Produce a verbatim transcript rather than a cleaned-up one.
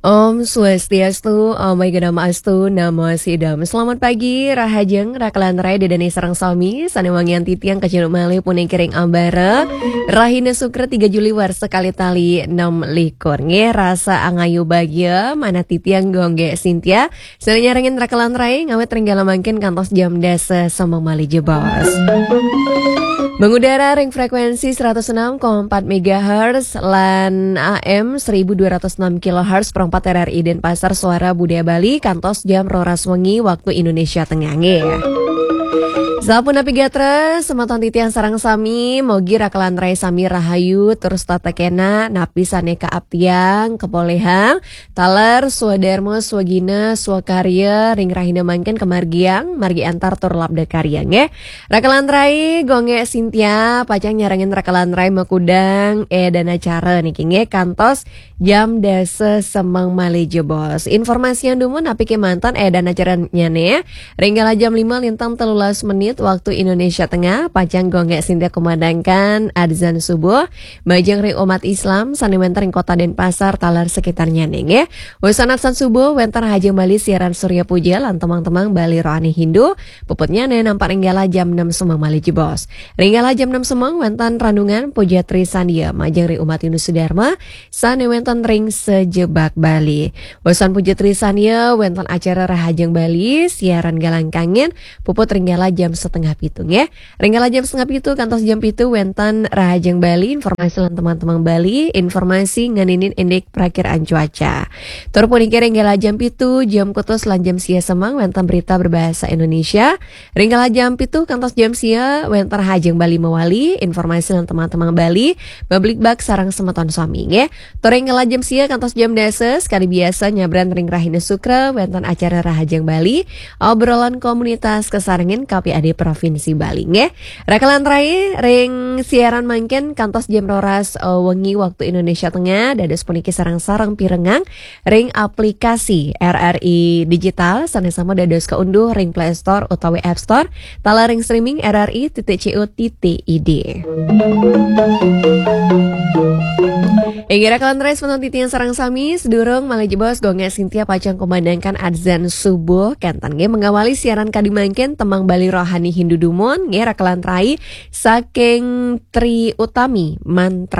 Om Swastiastu, Om Aigana Astu, Namo Sidam. Selamat pagi, Rahajeng, Rakalan Rai, Dedane sareng sami, sane wangian titiang kacunduk malih puniki ring ambara. Rahina Sukra tiga Juli warsa kalih tali enam likur. Nggih, rasa angayu bagia, manah titiang Gongge Sintia. Sane nyarengin Rakalan Rai, ngawit ring galah mangkin kantos jam dasa semeng malih jebos. Mengudara ring frekuensi seratus enam koma empat megahertz lan A M seribu dua ratus enam kilohertz, perempat R R I Denpasar, Suara Budaya Bali, kantos jam roras wengi waktu Indonesia Tengah, nggih. Sapunapi gatra, semeton titiang sareng sami, mogi Rakalan Rai sami rahayu, terus tata kena, napi sane kaaptiang, kapolihang, taler, swadarma, swagina, swakarya, ring rahina mangkin kamargiang, margi antar tur labda karya, nggih. Rakalan Rai, Gongge Sintia, pacang nyarengin Rakalan Rai makudang, eh, dan acara niki, nggih, kantos jam dasa semeng malih jebos. Informasian dumun napi kemanten, eh, dan acaranyane, ring galah jam lima lintang telulas menit waktu Indonesia Tengah, pacang Gongge Sintia kumandangkan adzan subuh, majeng ring umat Islam, sane wenten ring Kota Denpasar, taler sekitarnyane, nggih. Wusan adzan subuh, wenten Rahajeng Bali siaran Surya Puja, lan temang-temang Bali Rohani Hindu, puputnyane nampak ring galah jam enam semeng malih jebos. Ring galah jam enam semeng, wenten renungan Puja Tri Sandia, majeng ring umat Hindu Sudarma, sane wenten ring sajebag Bali. Wusan Puja Tri Sandia, wenten acara Rahajeng Bali, siaran Galang Kangin, puput ring galah jam setengah pitu, nggih. Ring galah jam setengah pitu kantos jam pitu wenten Rahajeng Bali, informasi lan temang-temang Bali, informasi ngeninin indik prakiraan cuaca. Tur puniki ring galah jam pitu, jam kutus lan jam sia semeng wenten berita berbahasa Indonesia. Ring galah jam pitu kantos jam sia wenten Rahajeng Bali mawali, informasi lan temang-temang Bali, mabligbagan sareng semeton sami, nggih. Tur ring galah jam sia kantos jam dasa, sekadi biasa nyabran ring Rahina Sukra, wenten acara Rahajeng Bali, obrolan komunitas kasarengin K P A D Provinsi Bali, nggih. Rakalan Rai, ring siaran mangkin kantos jam roras, eh, wengi waktu Indonesia Tengah, dados puniki sareng-sareng pirengang ring aplikasi R R I Digital, sane sami dados kaunduh ring Play Store utawi App Store, taler ring streaming R R I titik C O titik I D. Inggih Rakalan Rai, semeton titiang sareng sami, sedurung malih jebos Gongge Sintia pacang kumandangkan adzan subuh, kenten nggih mengawali siaran kadi mangkin temang Bali Rohani Hindu dumun, nggih Rakalan Rai, saking Tri Utami Mantra